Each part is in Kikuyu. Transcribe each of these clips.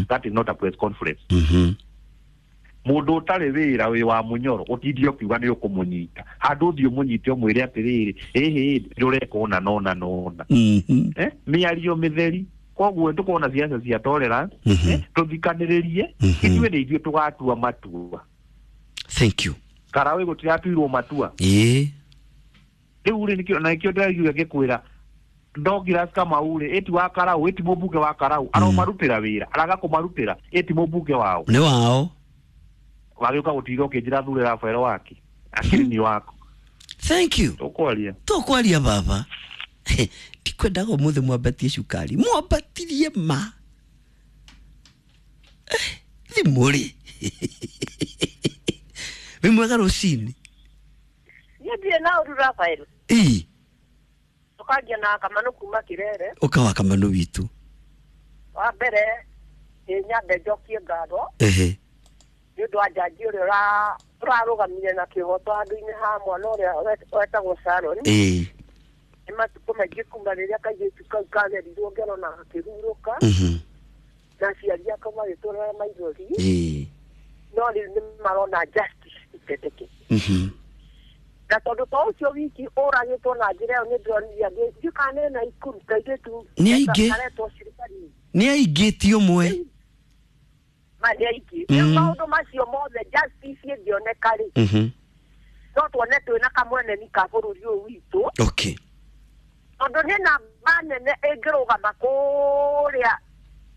That is not a press conference. Mũndũ ũtarĩ wĩra wĩ wa mũnyoro ũtindie ũkiuga nĩ ũkũmũnyita handũ ũthiĩ ũmũnyite ũmwĩre atĩrĩrĩ, ĩhĩ, ndũreka ũna na ũna na ũna. Eh, mĩario mĩtheri. Koguo tũkona ciaca cia tolerance. Eh, tũthikanĩrĩrie. Ithuĩ nĩ ithuĩ tũgatua matua. Thank you. Karaũ gũtiratuirwo matua. Rĩu rĩ, nĩkĩo na nĩkĩo ndĩraiguire ngĩkwĩra Douglas Kamau rĩ, ĩti wa Karau, ĩti mũmbunge wa Karau, aromarutĩra wĩra, araga kũmarutĩra, ĩti mũmbunge wao. Nĩ wao. Wagĩũka gũtinda ũkĩnjĩra thure Rafael wake akĩrĩ ni wako. Thank you. Tũkwaria. Tũkwaria baba. Ndikwendaga ũmũthĩ mwambatie cukari, mwambatirie ma. Eh, thimũ rĩ, wĩ mwega rũcinĩ. Niĩ ndirĩ na ũru, Rafael. Ii. Tũkangia na Kamanu kuma Kirere. Ũka wa Kamanu witũ. Wa mbere ĩ nyambe njokie ngatho nĩ ũndũ wa jaji ũrĩa ũrarũgamire na kĩhoto handũ-inĩ ha mwana ũrĩa wetagwo Sharon. Nĩ matukũ maingĩ kuma rĩrĩa kairĩtu kau kagerirwo ngero na gakĩhurũka, na aciari ako magĩtũrĩra maithori, no rĩu nĩ marona justice itendeke. Na tondũ to ũcio wiki ũragĩtwo na njĩra ĩyo, nĩ ndĩronire angĩ ndiũkane na ikuru kairĩtu Nĩ aingĩ. karetwo Shirikari. Nĩ aingĩ, ti ũmwe. Ma nĩ aingĩ. Rĩu maũndũ macio mothe, justice ĩngĩoneka rĩ, no tuone twĩna kamweneni ka bũrũri ũyũ witũ, tondũ nĩ namba nene ĩngĩrũgama kũrĩa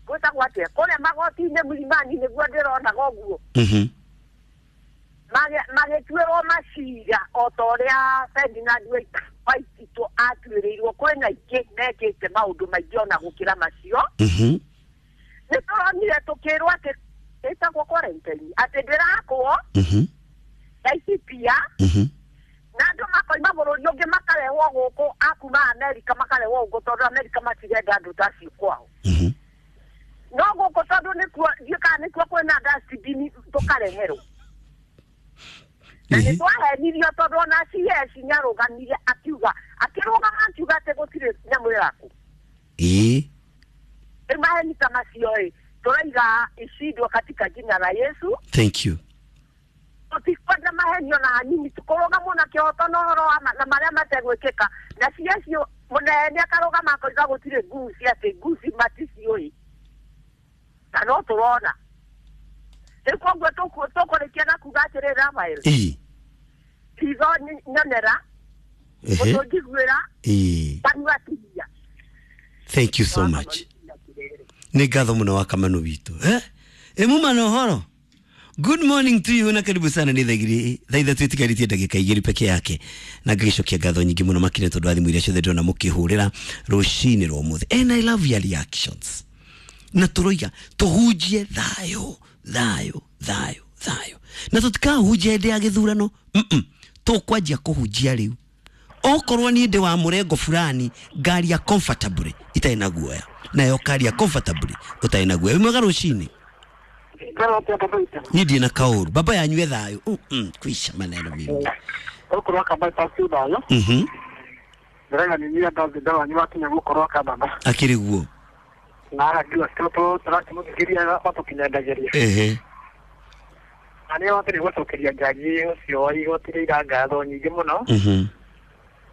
gwĩtagwo atĩa, kũrĩa magoti-inĩ Mlimani, nĩguo ndĩronaga ũguo, magĩtuĩrwo macira o ta ũrĩa Ferdinand Waititũ atuĩrĩirwo. Kwĩna ingĩ mekĩte maũndũ maingĩ ona gũkĩra macio. Nĩ tũronire tũkĩrwo atĩ ĩtagwo quarantine, atĩ ndĩrakwo Laikipia, na andũ makoima bũrũri ũngĩ makarehwo gũkũ, akuma Amerika makarehwo gũkũ, tondũ Amerika matirenda andũ ta acio kwao. No gũkũ tondũ nĩkuo ndiũ kana nĩkuo kwĩna dustbin, tũkareherwo na nĩ twahenirio, tondũ ona CS nĩarũgamire akiuga, akĩrũgama akiuga atĩ gũtirĩ nyamũ ĩrakũ. Rĩu maheni ta macio ĩ tũraiga ishindwo katika jina la Yesu. Thank you. Tũtikwenda mahenio na hanini, tũkũrũgamwo na kĩhoto na ũhoro wa na marĩa mategwĩkĩka. Na CS mũnene akarũgama akoiga gũtirĩ nguci, atĩ nguci maticiũĩ, na no tũrona rĩu. Koguo tũkũrĩkia na kuga atĩrĩrĩ, Rafael, ritho nyonera, ũtũnjiguĩra, kanua tigia. Thank you so much. Nĩ ngatho mũno wa Kamanu witũ. Eh, ĩ muma na ũhoro. Good morning to you na karibu sana. Nĩ thaa 3 itigarĩtie ndagĩka 2 peke yake, na ngagĩcokia ngatho nyingĩ mũno makĩria tondũ wa thimũ iria ciothe ndĩrona mũkĩhũrĩra rũcinĩ rwa ũmũthĩ, and I love your reactions. Na tũroiga tũhunjie thayũ, thayũ, thayũ, thayũ, na tũtikahunjia hĩndĩ ya gĩthurano. Tũkwanjia kũhunjia rĩu. Okorwo niĩ ndĩ wa mũrengo fulani, ngaria comfortably itarĩ na guoya, nayo karia comfortably ũtarĩ na guoya. Wĩ mwega rũcinĩ. Niĩ ndirĩ na kaũru, baba yanyue thayũ. Kwisha maneno mimi. Gũkorwo akamba ci thayũ. Ndĩraiga nĩ niĩ ndathi wanyu wakinya gũkorwo akambamba. Akĩrĩ guo. Na arakiuga tũrakĩmũthikĩria matũkinyendagĩria. Na nĩ watĩrĩ gũcokeria njaji ũcio wa igoti rĩa ira ngatho nyingĩ mũno.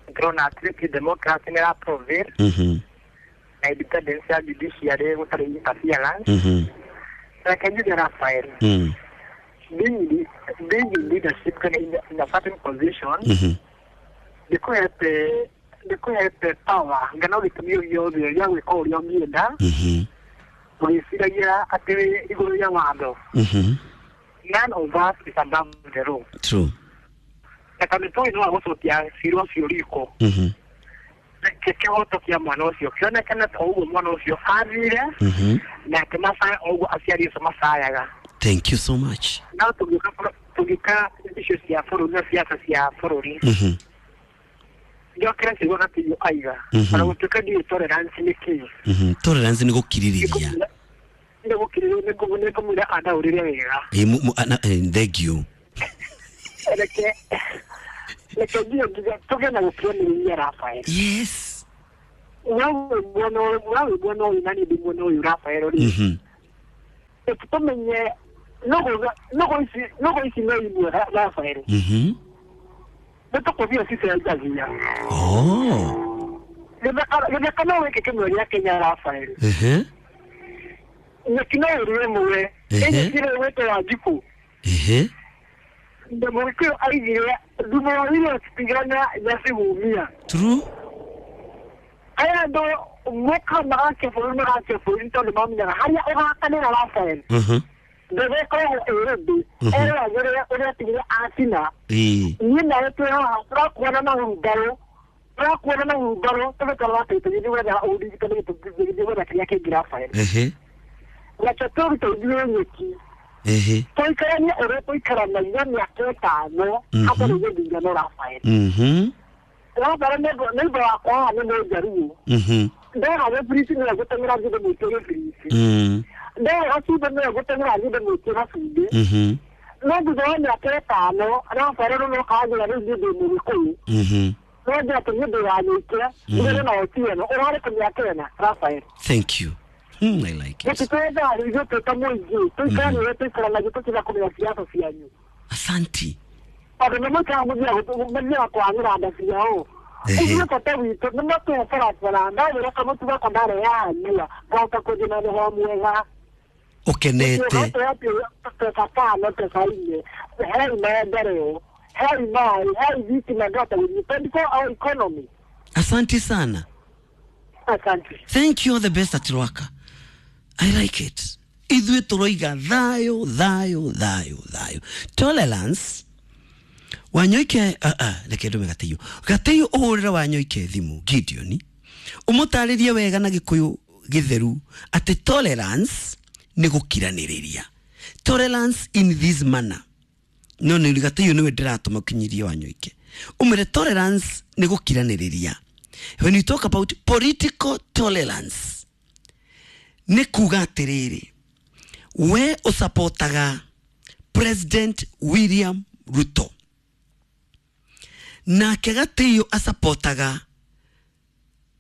Ndĩrona atĩ democracy nĩ ĩra na independence ya judiciary gũtarĩ interference. Reke njuge, Raphael, being in leadership kana in a certain position ndĩkũhete power ngana gĩtũmi o gĩothe gĩa gwĩka ũrĩa ũngĩenda, ũgĩciragia atĩ wĩ igũrũ rĩa watho. None of us is above the law. True. Na tondũ tũĩ no agũcokia cira ũcio riko, reke kĩhoto kĩa mwana ũcio kĩonekane ta ũguo mwana ũcio athire, nake macaya o ũguo aciari acio macayaga. Thank you so much. No tũngĩũka icio cia bũrũri na siasa cia bũrũri, njokere ciugo Gatiyo aiga, ona gũtuĩka ndiũĩ tolerance nĩ kĩĩ. Tolerance nĩ gũkirĩrĩria. Nĩ gũkirĩrĩria, nĩ kũmwĩra andaũrĩre wega. Thank you. Reke nginya tũgĩe na gũkiranĩrĩria, Rafael. Nawe mwena ũyũ, nawe mwena ũyũ, na niĩ ndĩ mwena ũyũ, Rafael rĩ. Tumenye no ici no imwe Rafael. Nĩtũkũthiĩ cicenjagia. Gĩthaka no gĩkĩ kĩmwe gĩa Kenya Rafael. Nyeki no ĩrĩ ĩmwe. Ĩnyitire gwĩtwo Wanjikũ. Mũgĩkũyũ aigire thumu wa irio citigana nyacigumia. True. Aya andũ moka magakia bũrũri tondũ mamenyaga harĩa ũgakanĩra Rafael. Ndege ĩkoragwo ĩ rĩndĩ eragĩrĩra ũrĩa atigire acina. Niĩ nawe twĩ haha tũrakuona na hurumbarũ tũgĩtwara atĩ tũgĩthiĩ gwetha ũrigitani tũgĩthiĩ gwetha kĩrĩa kĩngĩ Rafael. Nakĩo tũrute ithuĩ nyeki. Tũikaranie ũrĩa tũikaranagia mĩaka 5 hatarĩ gĩthurano Rafael. Rafael neighbor wakwa haha nĩ Mũnjaruo. Ndera gĩbiriti nĩwe gũteng'era thiĩ ndĩmwĩtie gĩbiriti. Ndera gacumbĩ nĩwe gũteng'era thiĩ ndĩmwĩtie gacumbĩ. No thutha wa mĩaka 5 Rafael rĩu kanjĩra rĩu niĩ ndĩ Mũgĩkũyũ. No njĩra atĩ niĩ ndĩ wa Nyũike, ndigane na Otieno, ũrarĩ kũ mĩaka 4 Rafael. Thank you. I like it. Gĩtitwetha rĩu ithuĩ twĩ ta mũingĩ, tũikaranie ũrĩa tũikaranagia tũtiga kũmenya siasa cianyu. Asanti. Tondũ nĩ mũikaraga mũthiaga kwanĩra nda ciao. Ithuĩ bata witũ nĩ matũhe barabara, ndagĩra kamũtu gakwa ndarehaga nyua, ngahota kũthiĩ na roho mwega. Ũkenete. Pesa 5, pesa 4, hei maendeleo, hei maĩ, hei thitima ngahota gũthiĩ 24-hour economy. Asante sana. Asante. Thank you, all the best at Rwaka. I like it. Ithuĩ tũroiga thayũ thayũ thayũ thayũ. Tolerance. Wanyoike reke ndume Gatĩiũ. Gatĩiũ ũhũrĩre Wanyoike thimũ Gideon. Ũmũtarĩrie wega na Gĩkũyũ gĩtheru atĩ tolerance nĩ gũkiranĩrĩria. Tolerance in this manner. No nĩ Gatĩiũ nĩwe ndĩratũma ũkinyirie Wanyoike. Ũmwĩre tolerance nĩ gũkiranĩrĩria. When you talk about political tolerance, nĩ kuga atĩrĩrĩ, we ũsapotaga President William Ruto, nake Gatĩiũ asapotaga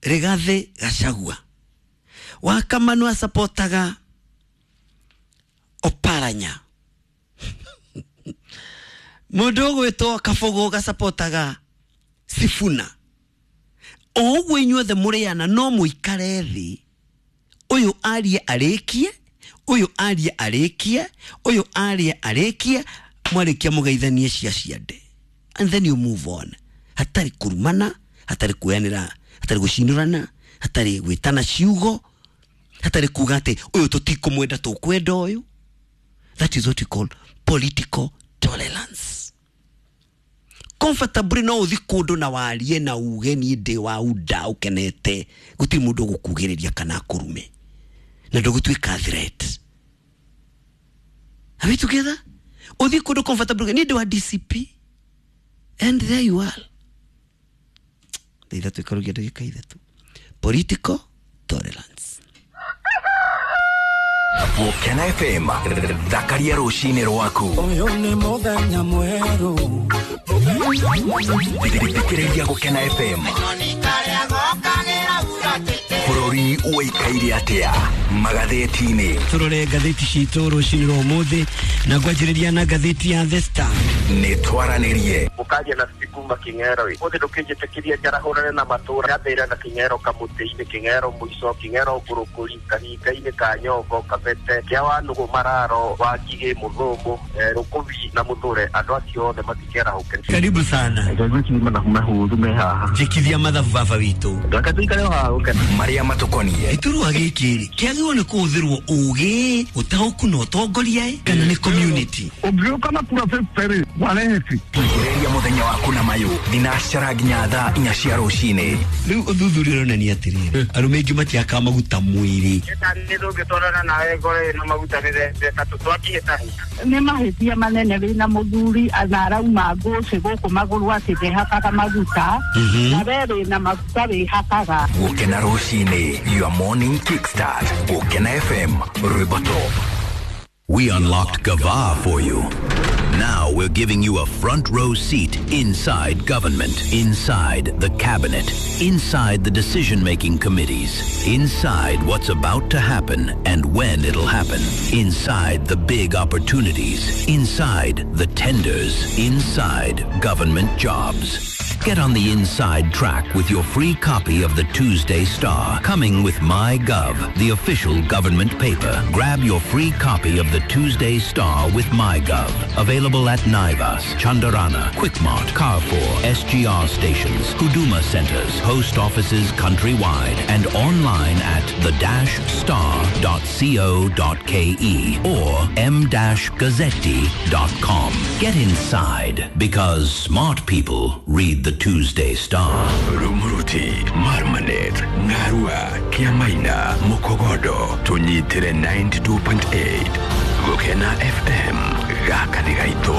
Rigathĩ Gachagua, Wakamanu asapotaga Oparanya, mũndũ ũgwĩtwo Kabũgũ gasapotaga Sifuna. O ũguo inyuothe mũrĩana no mũikare thĩ, ũyũ arie arĩkie, ũyũ arie arĩkie, ũyũ arie arĩkie, mwarĩkia mũgeithanie cia ciande. And then you move on. Hatarĩ kũrumana, hatarĩ kuoyanĩra, hatarĩ gũcinũrana, hatarĩ gwĩtana ciugo, hatarĩ kuga atĩ ũyũ tũtikũmwenda tũkwenda ũyũ. That is what we call political tolerance. Comfortably no ũthi kũndũ na warie na uge niĩ ndĩ wa unda ũkenete, gũtirĩ mũndũ ũgũkugĩrĩria kana akũrume, na ndũgũtuĩka threat. Are we together? Ũthi kũndũ comfortably, niĩ ndĩ wa DCP, and there you are. Thaa 3 ikarugia ndagĩka 3. Political tolerance. Gũkena FM, thakaria rũcinĩ rwaku. Ũyũ nĩ mũthenya mwerũ. Thikĩrĩria Gũkena FM. Bũrũri ũikaire atĩa magathĩti-inĩ? Tũrore ngathĩti citũ rũcinĩ rwa ũmũthĩ na ngwanjĩrĩria na ngathĩti ya The Star. Nĩ twaranĩrie. Ũkaria na Kuma Kĩng'ero ĩ ũthĩ ndũkĩnjĩtĩkĩria njarahũrane na matũra nyambĩrĩra na Kĩng'ero kamũtĩ-inĩ, Kĩng'ero mũico, Kĩng'ero ngũrũkũri, kahinga-inĩ ka Nyongo, Kabete, kĩa Wanũgũ, Mararo, Wangigĩ, Mũthũngũ, Rũkũbi na Mũthũre, andũ acio othe matikerahũke. Karibu sana. Njĩkithia mathabu baba witũ. Reke tũikare o haha gũkena. Marĩa matũkoniĩ. Gĩturwa gĩkĩ rĩ kĩagĩrĩirwo nĩ kũhũthĩrwo ũgĩ, ũtaũku na ũtongoria kana nĩ community? Ũngĩũka na kura 50 warehe. Thikĩrĩria mũthenya waku na mayũ thinacara nginya thaa 4 cia rũcinĩ. Rĩu ũthuthuria ũronania atĩrĩrĩ, arũme aingĩ matiakaga maguta mwĩrĩ. Nĩ nawe ngoro ĩna maguta nĩ tũtwakĩhĩtahĩta. Nĩ mahĩtia manene wĩna mũthuri na arauma ngũcĩ gũkũ magũrũ atĩ ndehakaga maguta, na we wĩna maguta wĩhakaga. Gũkena rũcinĩ, your morning kickstart. Gũkena FM, rwĩmbo top. We unlocked Gava for you. Now we're giving you a front row seat inside government, inside the cabinet, inside the decision making committees, inside what's about to happen and when it'll happen, inside the big opportunities, inside the tenders, inside government jobs. Get on the inside track with your free copy of the Tuesday Star, coming with MyGov, the official government paper. Grab your free copy of the Tuesday Star with MyGov. Available at Naivas, Chandarana, Quickmart, Carrefour, SGR stations, Huduma centers, post offices countrywide, and online at the-star.co.ke or m-gazzetti.com. Get inside because smart people read the Tuesday Star. Rumuruti, Marmanet, Ngarua, Kiamaina, Mukogodo, tunyitire 92.8. Gukena FM, gaka nĩ gaitũ.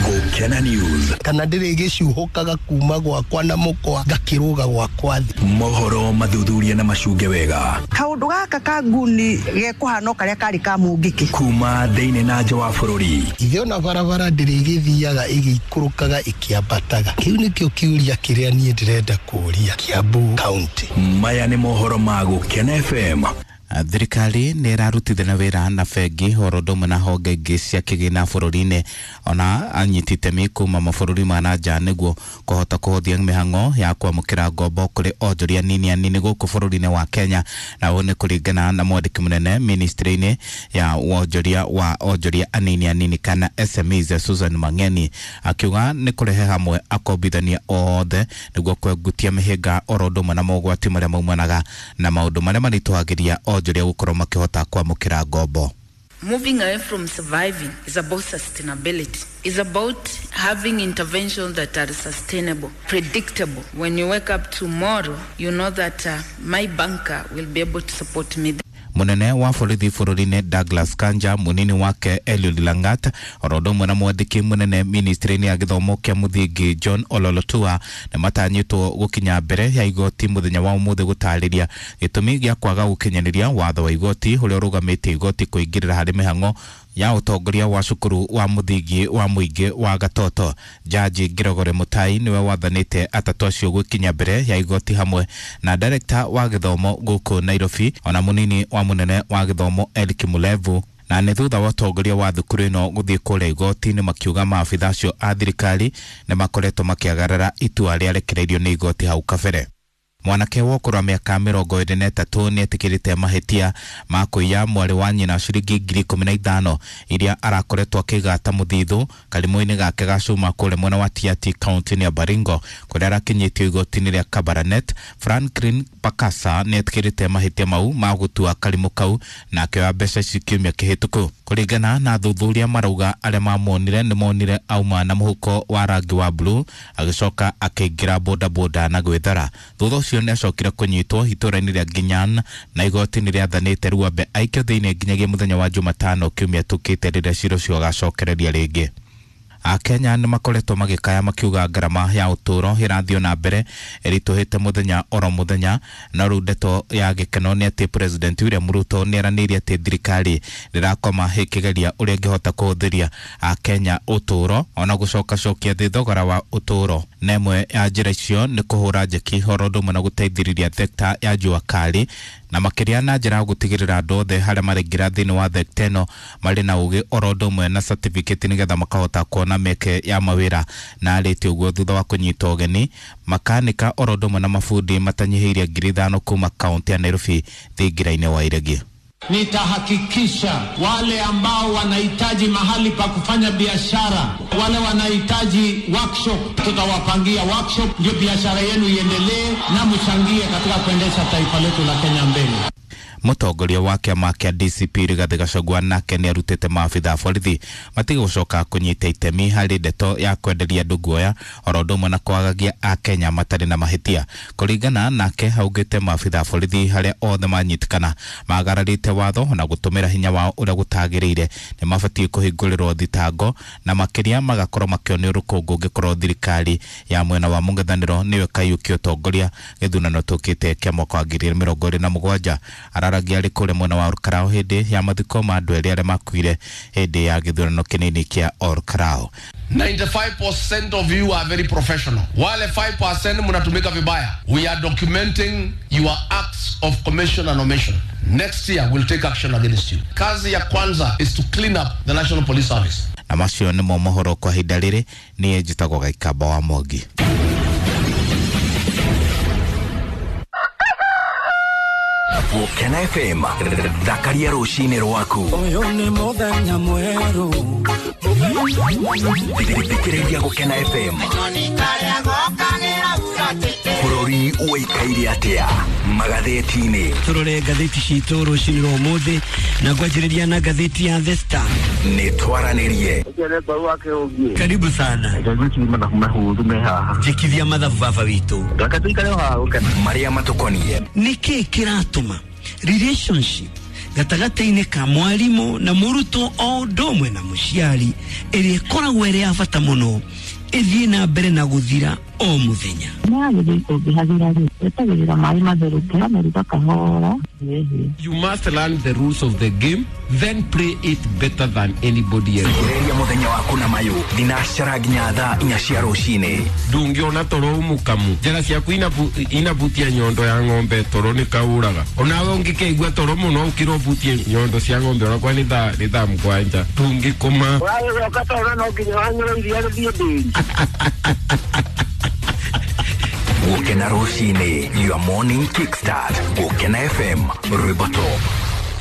Gukena News. Kana ndĩrĩ gĩcuhũkaga kuma gwakwa na mũkwa ngakĩrũga gwakwa thĩ. Mohoro mathuthuria na macunge wega. Kaũndũ gaka ka nguni gekũhana o karĩa karĩ ka mũngĩkĩ. Kuma thĩinĩ na nja wa bũrũri. Ithe ona barabara ndĩrĩ gĩthiaga ĩgĩikũrũkaga ĩkĩambataga. Kĩu nĩkĩo kĩũria kĩrĩa niĩ ndĩrenda kũũria Kiambu County. Maya nĩ mohoro ma Gukena FM. Thirikari nä ĩrarutithania wĩra na bengi oro ũndũ ũmwe na honge ingĩ cia kĩgĩna bũrũri-inĩ ona anyiti itemi kuma mabũrũri ma na nja nĩguo kũhota kũhũthia mĩhang'o ya kwamũkĩra ngombo kũrĩ onjoria nini anini gũkũ bũrũri-inĩ wa Kenya, na ũũ nĩ kũringana na mwandĩki mũnene ministry-inĩ ya wonjoria wa onjoria anini anini kana SMEs Susan Mang'eni akiuga nĩ kũrehe hamwe akombithania othe nĩguo kwengutia mĩhĩnga oro ũndũ ũmwe na mogwati marĩa maumanaga na maũndũ marĩa maritũhagĩria onjoria gũkorwo makĩhota kwamũkĩra ngombo. Moving away from surviving is about sustainability. It's about having interventions that are sustainable, predictable. When you wake up tomorrow, you know that my banker will be able to support me. Munene wa borithi bũrũri-inĩ Douglas Kanja, munini wake Eliud Langat, oro ũndũ ũmwe na mwandĩki mũnene ministry-inĩ ya gĩthomo kĩa mũthingi John Ololotua nĩ matanyĩtwo gũkinya mbere ya igoti mũthenya wa ũmũthĩ gũtarĩria gĩtũmi gĩa kwaga gũkinyanĩria watho wa igoti ũrĩa ũrũgamĩtie igoti kũingĩrĩra harĩ mĩhang'o ya ũtongoria wa cukuru wa mũthingi wa mũingĩ wa Gatoto. Jaji Gregory Mutai niwe wathanĩte atatũ acio gũkinya mbere ya igoti hamwe na director wa gĩthomo gũkũ Nairobi ona mũnini wa mũnene wa gĩthomo Eric Mulevu, na nĩ thutha wa ũtongoria wa thukuru ĩno gũthiĩ kũrĩa igoti-inĩ makiuga maabitha acio a thirikari nĩ makoretwo makĩagarara itua rĩarekereirio nĩ igoti hau kabere. Mwanake wa ũkũrũ wa mĩaka 23 nĩ etĩkĩrĩte mahĩtia ma kũiya mwarĩ wa nyina ciringi 15,000 iria arakoretwo akĩiga ta mũthithũ karimũ-inĩ gake ga cuma kũrĩa mwena wa Tiaty kaunti-inĩ ya Baringo kũrĩa arakinyĩtio igoti-inĩ rĩa Kabarnet. Franklin Pakasa nĩ etĩkĩrĩte mahĩtia mau ma gũtua karimũ kau na akĩoya mbeca ici kiumia kĩhĩtũku. Kũringana na athuthuria marauga arĩa mamuonire nĩ monire auma na mũhuko wa rangi wa blue agĩcoka akĩingĩra bodaboda na gwĩthara. Thutha ũcio nĩ acokire kũnyitwo itũũra-inĩ rĩa Nginyan na igoti nĩ rĩathanĩte Ruambe aikio thĩinĩ nginyagia mũthenya wa Jumatano kiumia tũkĩte rĩrĩa cira ũcio ũgacokereria rĩngĩ. Akenya nĩ makoretwo magĩkaya makiuga ngarama ya ũtũũro ĩrathiĩ na mbere ĩritũhĩte mũthenya oro mũthenya, na rĩu ndeto ya gĩkeno nĩ atĩ President William Ruto nĩ eranĩire atĩ thirikari ndĩrakoma ĩkĩgeria ũrĩa ĩngĩhota kũhũthĩria Akenya ũtũũro ona gũcokacokia thĩ thogora wa ũtũũro, na ĩmwe ya njĩra icio nĩ kũhũra njeki oro ũndũ ũmwe na gũteithĩrĩria thekta ya jua kali na makĩria na njĩra ya gũtigĩrĩra andũ othe harĩa maraingĩra thĩinĩ wa thekta ĩno marĩ na ũgĩ oro ũndũ ũmwe na certificate nĩgetha makahota kuona mĩeke ya mawĩra. Na arĩtie ũguo thutha wa kũnyita ũgeni makanika oro ũndũ ũmwe na mabundi matanyihĩirie 5,000 kuma kaunti ya Nairobi thingira-inĩ wa Iregi. Nitahakikisha wale ambao wanahitaji mahali pa kufanya biashara, wale wanahitaji workshop, tutawapangia workshop ndio biashara yenu iendelee na mchangie katika kuendesha taifa letu la Kenya mbele. Mũtongoria wa kĩama kĩa DCP Rigathĩ Gachagua nake nĩ arutĩte maabitha a borithi matige gũcoka kũnyita itemi harĩ ndeto ya kwenderia andũ guoya oro ũndũ ũmwe na kwagagia Akenya matarĩ na mahĩtia. Kũringana nake augĩte maabitha a borithi harĩa othe manyitĩkana magararĩte watho na gũtũmĩra hinya wao ũrĩa gũtagĩrĩire nĩ mabatiĩ kũhingũrĩrwo thitango na makĩria magakorwo makĩonio rũkũngũ ũngĩkorwo thirikari ya mwena wa mũng'ethanĩro nĩyo ĩkaiyũkia ũtongoria gĩthurano tũkĩte kĩa mwaka wa 2027. Araragia arĩ kũrĩa mwena wa Olkalou hĩndĩ ya mathiko ma andũ erĩ arĩa makuire hĩndĩ ya gĩthurano kĩnini kĩa Olkalou. 95% of you are very professional. Wale 5% mnatumika vibaya. We are documenting your acts of commission and omission. Next year we'll take action against you. Kazi ya kwanza is to clean up the National Police Service. Na macio nĩmo mohoro kwa ihinda rĩrĩ. Niĩ njĩtagwo Gaikamba wa Mwangi. Gũkena FM, thakaria rũcinĩ rwaku. Ũyũ nĩ mũthenya mwerũ. Thikĩrĩria Gũkena FM. Bũrũri ũikaire atĩa magathĩti-inĩ? Tũrore ngathĩti citũ rũcinĩ rwa ũmũthĩ na ngwanjĩrĩria na ngathĩti ya The Star. Nĩ twaranĩrie. Karibu sana. Njĩkithia mathabu baba witũ. Marĩa matũkoniĩ. Nĩkĩ kĩratũma relationship gatagatĩ-inĩ ka mwarimũ na mũrutwo o ũndũ ũmwe na mũciari ĩrĩa ĩkoragwo ĩrĩ ya bata mũno ĩthiĩ na mbere na gũthira o mũthenya? Nĩyagĩrĩire ũngĩhagĩra rĩ, wetagĩrĩra maĩ matherũke ũkameruga kahora. You must learn the rules of the game, then play it better than anybody else. Thikĩrĩria mũthenya waku na mayũ thinacara nginya thaa 4 cia rũcinĩ. Ndũngĩona toro mũkamu, njĩra ciaku inabutia nyondo ya ng'ombe, toro nĩ kaũraga. Onawe ũngĩkeigua toro mũno ũkĩra ũbutie nyondo cia ng'ombe onakwa nĩ thaa 7 ndũngĩkoma. Ũragĩcoka toro no nginya wanyue iria rĩthiĩ ndĩri. Gũkena rũcinĩ, your morning kickstart. Gũkena FM, rwĩmbo top.